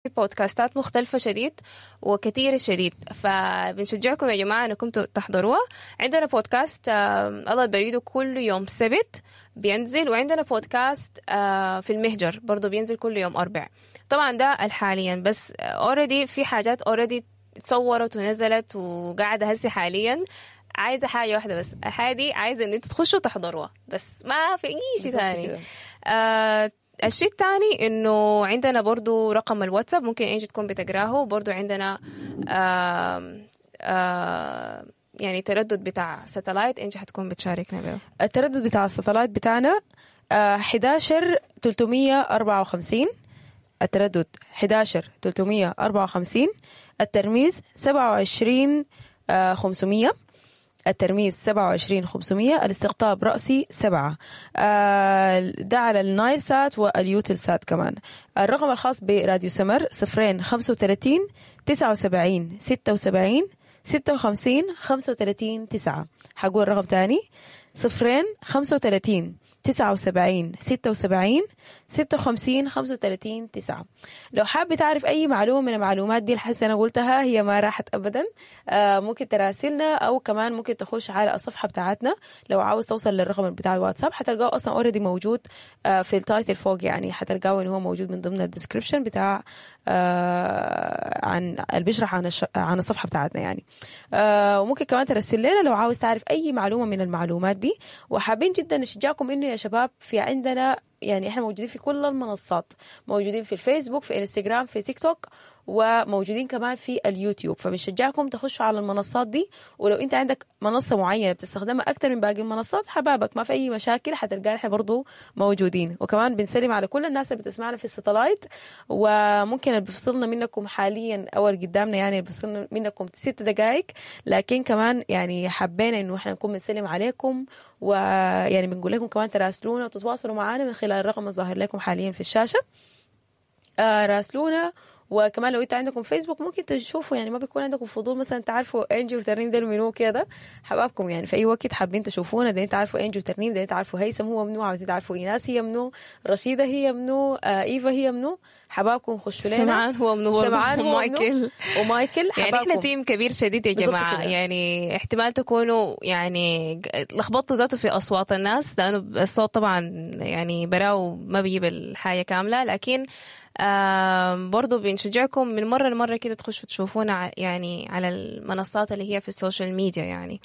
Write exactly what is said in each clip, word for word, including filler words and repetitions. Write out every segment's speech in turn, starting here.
بودكاستات مختلفة شديد وكثيرة شديد، فبنشجعكم يا جماعة انكم تحضروها. عندنا بودكاست آه الله البريدو كل يوم سبت بينزل، وعندنا بودكاست آه في المهجر برضو بينزل كل يوم أربع. طبعا ده الحاليا، بس already في حاجات already اتصورت ونزلت وقاعدة هسي حاليا. عايزة حاجة واحدة بس، الحاجة دي عايزة ان انتوا تخشوا تحضروها بس، ما في اي شيء بالظبط ثاني. كده. آه الشيء الثاني انه عندنا برضو رقم الواتساب ممكن انجي تكون بتقراه، برضو عندنا آه آه يعني تردد بتاع satellite، انجي حتكون بتشاركنا به. التردد بتاع ال satellite بتاعنا آه، حداشر تلتمية أربعة وخمسين، التردد حداشر تلتمية أربعة وخمسين، الترميز سبعة وعشرين آه، خمسمية، الترميز سبعة وعشرين خمسمية، الاستقطاب رأسي سبعة. آه، ده على النايل سات واليوتل سات كمان. الرقم الخاص براديو سمر صفرين خمسة وتلاتين تسعة وسبعين ستة وسبعين ستة وخمسين خمسة وتلاتين تسعة. حقول الرقم تاني، صفرين خمسة وتلاتين تسعة وسبعين ستة وسبعين ستة وخمسين خمسة وتلاتين تسعة. لو حابة تعرف أي معلومة من المعلومات دي الحس أنا قلتها هي ما راحت أبدا، آه ممكن تراسلنا، أو كمان ممكن تخش على الصفحة بتاعتنا. لو عاوز توصل للرقم بتاع الواتساب حتلقاه أصلا already موجود آه في ال title فوق، يعني حتلقاه إنه هو موجود من ضمن ال description بتاع آه عن اللي بيشرح عن الش... عن الصفحة بتاعتنا يعني. آه وممكن كمان ترسل لنا لو عاوز تعرف أي معلومة من المعلومات دي. وحابين جدا نشجعكم إنه يا شباب في عندنا يعني احنا موجودين في كل المنصات، موجودين في الفيسبوك، في انستغرام، في تيك توك، وموجودين كمان في اليوتيوب. فبنشجعكم تخشوا على المنصات دي، ولو انت عندك منصة معينة بتستخدمها اكتر من باقي المنصات حبابك ما في اي مشاكل، حتلقانا احنا برضو موجودين. وكمان بنسلم على كل الناس اللي بتسمعنا في ال satellite، وممكن اللي بيفصلنا منكم حاليا او اللي قدامنا يعني اللي بيفصلنا منكم ست دقائق، لكن كمان يعني حبينا انه احنا نكون بنسلم عليكم، ويعني بنقول لكم كمان تراسلونا وتتواصلوا معنا من خلال الرقم الظاهر لكم حاليا في الشاشة. آه راسلونا. وكمان لو انتوا عندكم فيسبوك ممكن تشوفوا، يعني ما بيكون عندكم فضول مثلا تعرفوا انجي وترنيم ديل منو كده، حبابكم يعني في اي وقت حابين تشوفونا، دايرين تعرفوا انجي وترنيم، دايرين تعرفوا هيثم هو منو، عاوزين تعرفوا ايناس هي منو، رشيده هي منو، آه ايفا هي منو، حبابكم خشوا لنا. سمعان هو منو برضه، سمعان هو منو، ومايكل. ومايكل يعني احنا حبابكم. team كبير شديد يا بالظبط جماعة، كده. يعني احتمال تكونوا يعني ج- لخبطتوا ذاته في أصوات الناس، لأنه الصوت طبعا يعني براو ما بيجيب الحاجة كاملة، لكن آم، برضو بنشجعكم من مرة لمرة كده تخشوا تشوفونا ع- يعني على المنصات اللي هي في ال social media يعني.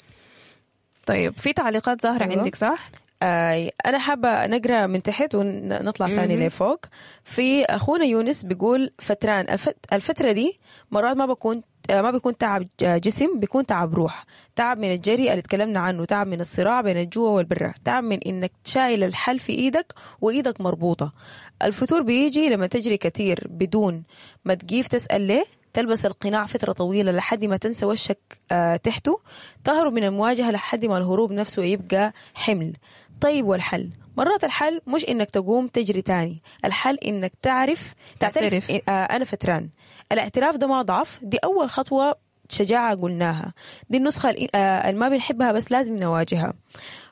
طيب في تعليقات ظاهرة أيوة. عندك صح؟ آه أنا حابة نقرأ من تحت ونطلع ثاني لفوق. في أخونا يونس بيقول فتران الفت الفترة دي مرات ما بكون آه، ما بيكون تعب جسم، بيكون تعب روح، تعب من الجري اللي تكلمنا عنه، تعب من الصراع بين الجوع والبرة، تعب من إنك شايل الحل في إيدك وإيدك مربوطة. الفتور بيجي لما تجري كتير بدون ما تقيف تسأل ليه، تلبس القناع فترة طويلة لحد ما تنسى وشك آه، تحته، تهرب من المواجهة لحد ما الهروب نفسه يبقى حمل. طيب والحل؟ مرات الحل مش إنك تقوم تجري تاني، الحل إنك تعرف تعترف تعترف. آه، أنا فتران. الاعتراف ده ما ضعف، دي أول خطوة شجاعة قلناها، دي النسخة ال- آه، اللي ما بنحبها بس لازم نواجهها.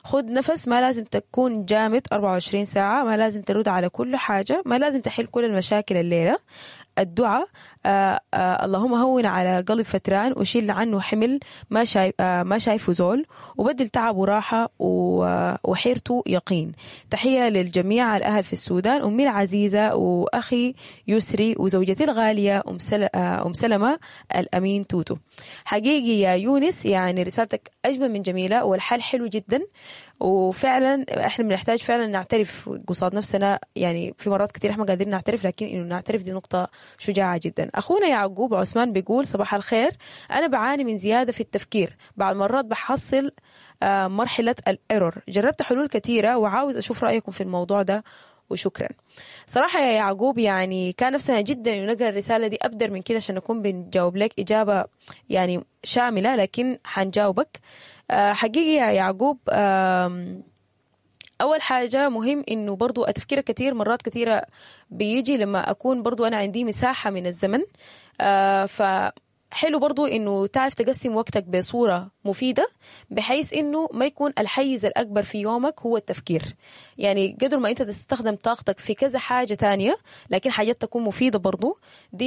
خد نفس، ما لازم تكون جامد أربعة وعشرين ساعة، ما لازم ترد على كل حاجة، ما لازم تحل كل المشاكل الليلة. الدعاء آه آه اللهم هون على قلب فتران وشيل عنه حمل ما شايف آه ما شايفه زول، وبدل تعب وراحة و- وحيرته يقين. تحية للجميع الأهل في السودان، أمي العزيزة وأخي يسري وزوجتي الغالية أم, سل... آه أم سلمة الأمين توتو. حقيقي يا يونس يعني رسالتك أجمل من جميلة، والحل حلو جدا، وفعلا احنا بنحتاج فعلا نعترف قصاد نفسنا، يعني في مرات كثير احنا ما قادرين نعترف، لكن انه نعترف دي نقطة شجاعة جدا. اخونا يعقوب عثمان بيقول صباح الخير، انا بعاني من زيادة في التفكير، بعض مرات بحصل آه، مرحلة ال error، جربت حلول كثيرة وعاوز اشوف رأيكم في الموضوع ده وشكرا. صراحة يا يعقوب يعني كان نفسنا جدا انه نقرا الرسالة دي ابدر من كده عشان نكون بنجاوب لك اجابة يعني شاملة، لكن حنجاوبك. آه، حقيقي يا يعقوب، آم، أول حاجة مهم إنه برضو التفكير كتير مرات كتيرة بيجي لما أكون برضو أنا عندي مساحة من الزمن، آه ف حلو برضو انه تعرف تقسم وقتك بصورة مفيدة، بحيث انه ما يكون الحيز الاكبر في يومك هو التفكير. يعني قدر ما انت تستخدم طاقتك في كذا حاجة تانية، لكن حاجات تكون مفيدة برضو، دي